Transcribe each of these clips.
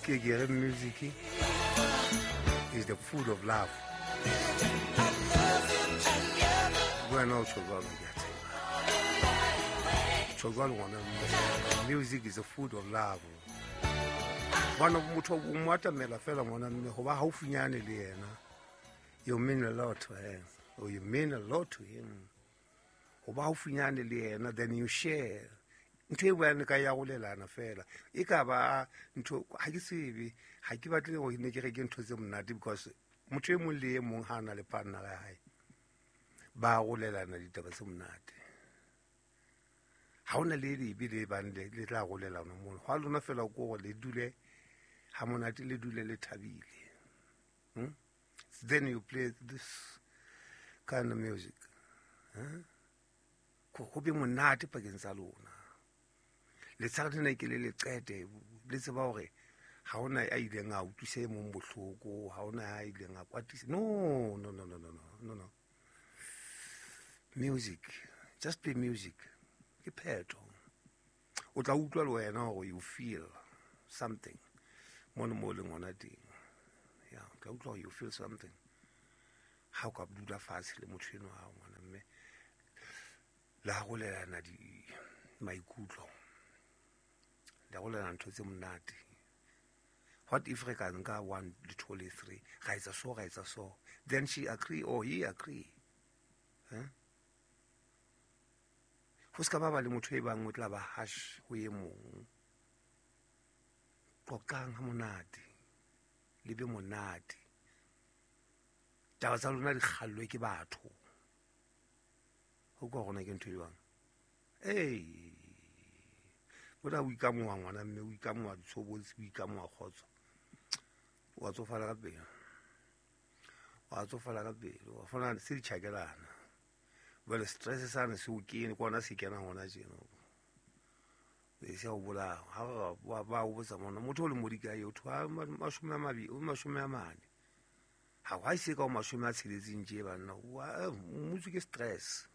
Ke ke re music is the food of love. Wena o tjho jwalo, ke a tseba. Tjho jwalo ngwana mme. Music is the food of love. Bona motho o mo atamela fela ngwana mme ho ba haufinyane le yena. You mean a lot to her, or you mean a lot to him. Ho ba haufinyane le yena, then you share. Ntho e buang ka ya golelana fela. E ka ba ntho ha ke tsebe, ha ke batle go ne ke re ke ntho tse monate, because motho e mong le e mong ha na le partner ya hae, ba golelana ditaba tse monate. Ha hona le lebe le bang le tla golelana mono. Hwa lona fela ko gore le dule ha monate, le dule le thabile. Then you play this kind of music. Huh? Go be monate pakeng tsa lona. Letshehare lena ke le le qete, le tseba hore ha hona a ileng a utlwisa e mong bohloko, ha hona a ileng a kwatisa. No, no, no, no, no, no, no, no. Music, just play music. Ke phetho. O tla utlwa le wena hore you feel something mono mo leng hona teng. Ya, o tla utlwa hore you feel something. Ha o ka dula fatshe le motho enwa wa ngwana mme le arolelana di maikutlo, le arolelana ntho tse monate. What if re ka nka 1 le 2 le 3, ra etsa so, ra etsa so, then she agree or he agree. Ho ska ba ba le motho e bang o tla ba harsh ho e mong. Qoqang ha monate, le be monate. Taba tsa lona di kgallwe ke batho. Ho kwa rona ke ntho e jwang? Ee, bona o ikamoha ngwana mme, o ikamoha ditshobotsi, o ikamoha kgotso. Wa tsofala ka pele. Wa tsofala ka pele. Wa fana se di tjhakelana. Jwale stress sane se o kene, ke ona se kenang hona tjena. E se o bolaya. Ha ba o botsa mona, motho o le modi kae, o thwa mashome a mabedi, o mashome a mane. Ha wa se ka o mashome a tsheletseng tje banna, wa mmuso ke stress.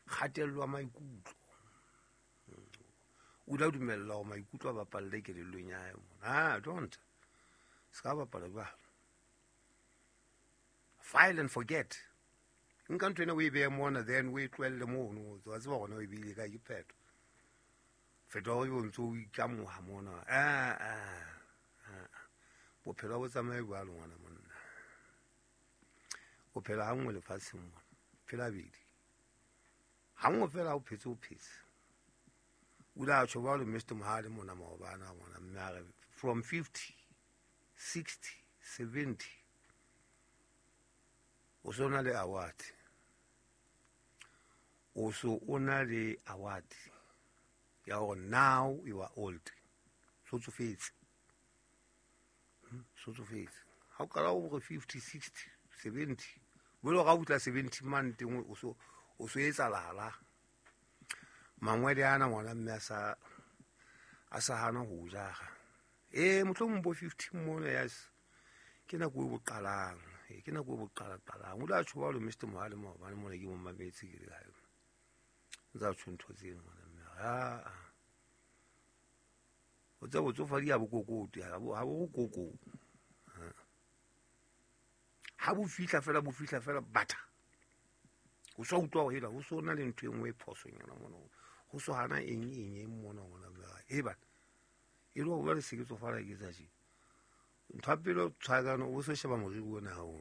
Kgatello ya maikutlo. O la dumella hore maikutlo a bapalle kelellong ya hae mona. Ah, don't. Se ka bapala jwalo. File and forget. Nka ntho ena o e behe mona, then o e tlohelle mono. Wa tseba hore na o e beile kae, ke phetho. Fetoha o ntso o ikamoha mona. Ah, ah, ah. Bophelo ha bo tsamaye jwalo ngwana monna. O phela ha nngwe lefatsheng mona. Phela bedi. Ha nngwe fela o phetse, o phetse. O ile a tjho jwalo Mister Mohale mona maobane a ngwana mme a re from 50, 60, 70 o so na le award. O so o na le award ya hore now you are old. So tsofetse. So tsofetse. Ha o qala o re 50, 60, 70, bolo ga o tla 70 man teng o so o so etsa lala. Mangwele ana ngwana mme a sa hana ho jara. Mohlomong bo 50 mona, yes. Ke nako e bo qalang. Ke nako e bo qala qalang. O la tjho jwalo Mister Mohale maobane mona ke mo mametse ke le kae. Ntsa tjho ntho tseno ngwana mme. Ha. O tseba botsofadi ha bo kokote, ha bo koko. Ha. Ha bo fihla fela, bo fihla fela batha. O sa utlwa hore hela ho so na le ntho e nngwe e phosonyana mona. Ho so hana eng eng eng mona ngwana mme. E bana. E le hore jwale se ke tsofala ke tsa tje. Ntho ya pele o tshwaetsana, o so sheba moriri ona ha o.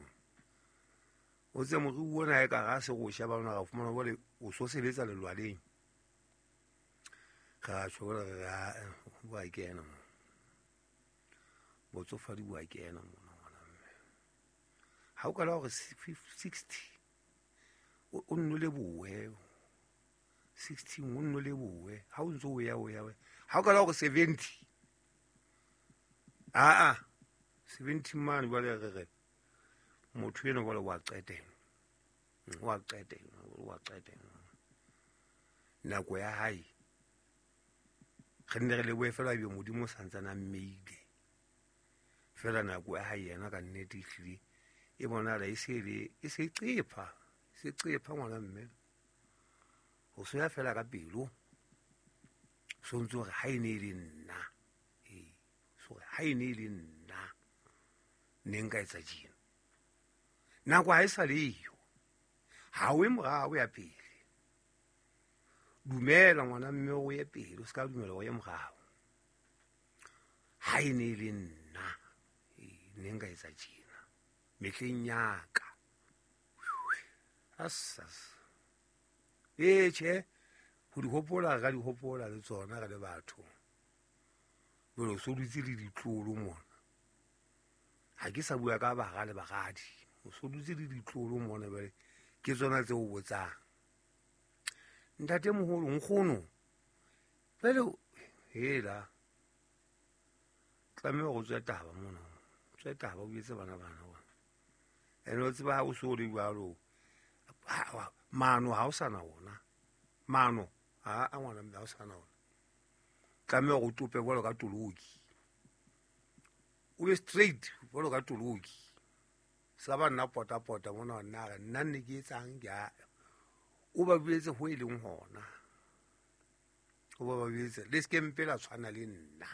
O tse moriri ona e ka ra se go sheba ona ra fumana jwale o so sebetsa lelwaleng. Ra tjho hore re a, bo a kena mo. Botsofadi bo a kena mona ngwana mme. Ha o kala hore 60, o nno lebohe. 60, o nno lebohe. Ha o ntso o ya, o ya, o ya. Ha o kala hore 70. Ah, ah. 70 mane jwale re re. Motho enwa jwale wa qetela. Wa qetela, wa qetela. Nako ya hae. Re nne re lebohe fela ebe Modimo o santsane a mmeile. Fela nako ya hae yena ka nnete ehlile e bonahala e se le, e se qepha, e se qepha ngwana mme. Ho so ya fela ka pelo. So ntse hore ha e ne e le nna. So Ha e ne e le nna ne nka etsa tjena. Nako ha e sa leyo, ha o e morao ya pele. Dumela ngwana mme o ye pele, o se ka dumela o ye morao. Ha e ne e le nna ne nka etsa tjena mehleng ya ka. Assas. Ee tjhe, ho di hopola re ka di hopola le tsona re le batho. Jwale o so dutse le ditlolo mona. Ha ke sa bua ka bara le baradi, o so dutse le ditlolo mona jwale ke tsona tse o botsang. Ntate moholo, nkgono, jwale hela tlameha hore o tswe taba mona, o tswe taba o etse bana bana bona. Ene o tseba ha o so le jwalo, maano ha o sa na ona. Maano ha a ngwana mme ha o sa na ona. Tlameha hore o tope jwalo ka toloki. O be straight jwalo ka toloki. Se ka ba nna pota-pota mona nna re nna nne ke etsang ke a. O ba buetse ho e leng hona. O ba buetse le se ke mpe la tshwana le nna.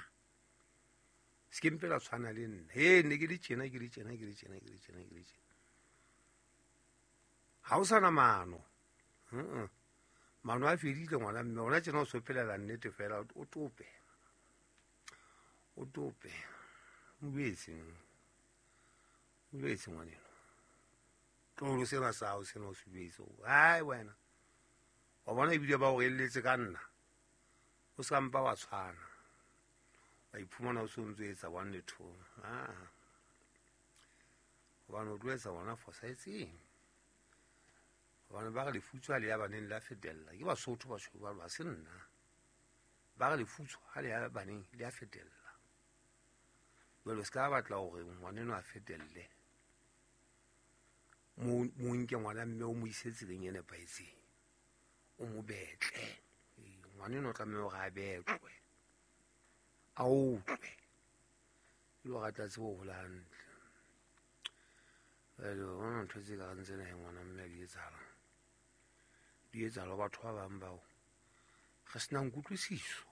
Se ke mpe la tshwana le nna. He ne ke le tjena ke le tjena ke le tjena ke le tjena ke le tjena. Ha o sa na maano. Maano a fedile ngwana mme ona tjena o so phelela nnete fela o tope. O tope. O buetse. O buetse ngwaneno. Tlolo sena sa hao sena o se buetse. Hai wena. Wa bona ebile ba o relletse ka nna. O se ka mpa wa tshwana. Wa iphumana o so ntso etsa 1 le 2. Ah. Hobane o tlo etsa ona fosahetseng. Hobane ba re lefutso ha le ya baneng le a fetella. Ke Basotho ba tjho jwalo, ha se nna. Ba re lefutso ha le ya baneng le a fetella. Jwale o se ka batla hore ngwaneno a fetelle. Mo nke ngwana mme o mo ise tseleng e nepahetseng. O mo betle. Ngwaneno o tlameha hore a betlwe. A utlwe. E le hore a tla tsebe ho hola hantle. Jwale o bona ntho tse kareng tsena he ngwana mme di etsahala. Di etsahala ho batho ba bang bao re senang kutlwisiso.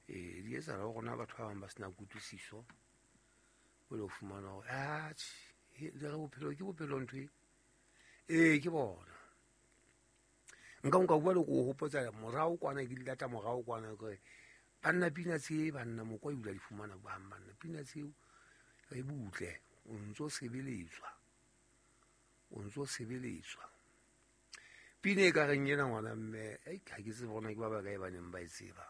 Ee, di etsahala ho rona batho ba bang ba senang kutlwisiso. O lo fumana hore atjhe, le re bophelo ke bophelo ntho e. Ee, ke bona. Nka bua le ko hopotsa morao kwana ke dilata morao kwana ke banna pina tse banna mokwa ebile di fumana bang banna pina tseo re butle o ntso sebeletswa. O ntso sebeletswa. Pina e ka reng ena ngwana mme, ha ke tsebe bona ke ba bakae ba neng ba e tseba.